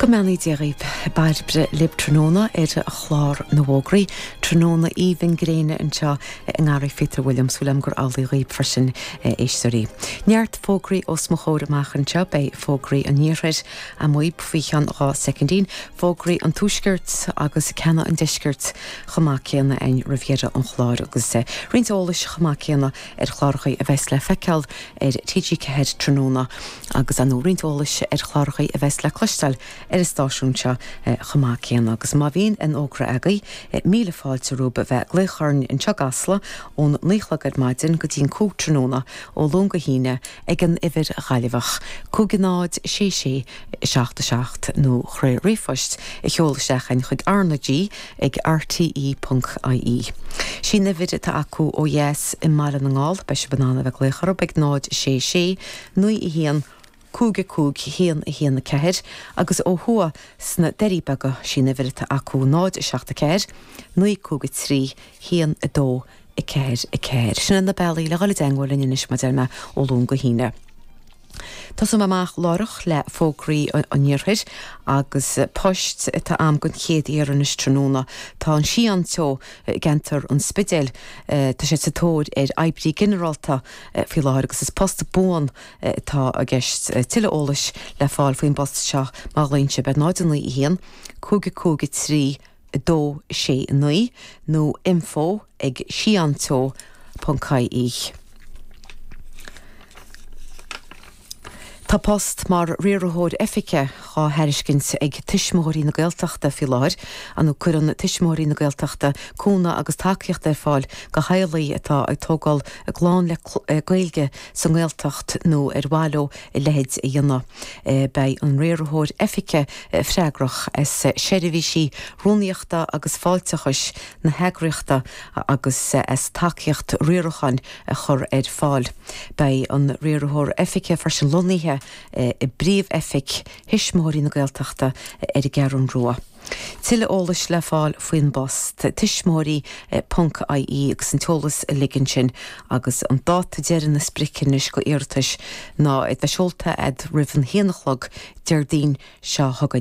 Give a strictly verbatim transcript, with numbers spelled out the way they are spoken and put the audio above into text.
Go mbeannaí Dia dhaoibh Bairbre libh tráthnóna ar chlár na bhfógraí tráthnóna aoibhinn gréine anseo i nGarraí Phíotair William súil agam gur amhlaidh dhaoibh freisin éisteoirí. Neart fógraí os mo chomhair amach anseo beidh fógraí an iarthair amuigh faoi cheann dhá soicindín, fógraí an tuaiscirt agus ceanna an deiscirt chomh maith céanna againn roimh dheireadh an chláir agus roinnt eolais chomh maith céanna ar chláracha a bheas le feiceáil ar TG Ceathair tráthnóna agus an roinnt eolais ar chláracha a bheas le cloisteáil ar an stáisiún seo chomh maith céanna agus má bhíonn an fógra agaibh míle fáilte romhaibh a bheith ag glaoch orainn anseo i gCasla ón naoi a chlog ar maidin go dtí an cúig tráthnóna ó Luan go hAoine ag an uimhir Ghaillimheach cúig náid sé sé seacht a seacht nó trí ríomhphost a sheoladh isteach chugainn chuig RnaG ag RTE ponc IE. Sin uimhir atá acu ó dheas i mBaile na nGall beidh sibh in ann a bheith ag glaoch orthu ag náid sé sé naoi a haon cúig a cúig haon a haon a ceathair agus ó thuaidh sna Doirí Beaga sin uimhir atá acu náid a seacht a ceathair naoi cúig a trí haon a dó a ceathair a ceathair. Sin na bealaí le dhul i dteagmháil linn anois mar a deir mé ó Luan go hAoine. Tosóidh mé amach láithreach le fógraí an iarthair agus poist atá agam don chéad iarraidh anois tráthnóna. Tá an Sián Teo i gceantar an Spidéil tá sé sa tóir ar oibrí ginearálta faoi láthair agus is post buan atá i gceist tuilleadh eolais le fáil faoin bpost seo má ghlaonn sibh ar náid naoi a haon, cúig a cúig a trí a dó sé naoi nó info ag sianteo ponc ie. Tá post mar riarthóir oifige á thairiscint ag Tuismitheoirí na Gaeltachta faoi láthair, an cuireann Tuismitheoirí na Gaeltachta cúnamh agus tacaíocht ar fáil do theaghlaigh atá ag tógáil a gclann le Gaeilge sa nGaeltacht nó ar mhaith leo a leithéid a dhéanamh. Beidh an riarthóir oifige freagrach as seirbhísí rúnaíochta agus fáilteachais na heagraíochta agus as tacaíocht riaracháin a chur ar fáil. Beidh an riarthóir oifige freisin lonnaithe i bpríomh-oifig Thuismitheoirí na Gaeltachta ar an gCeathrú Rua. Tuilleadh eolais le fáil faoin bpost tuismitheoirí ponc ie agus an t-eolas uilig ansin agus an dáta deiridh na sprice anois go iarratais ná iad bheith seolta fhad roimh an haon a chlog Déardaoin seo chugainn.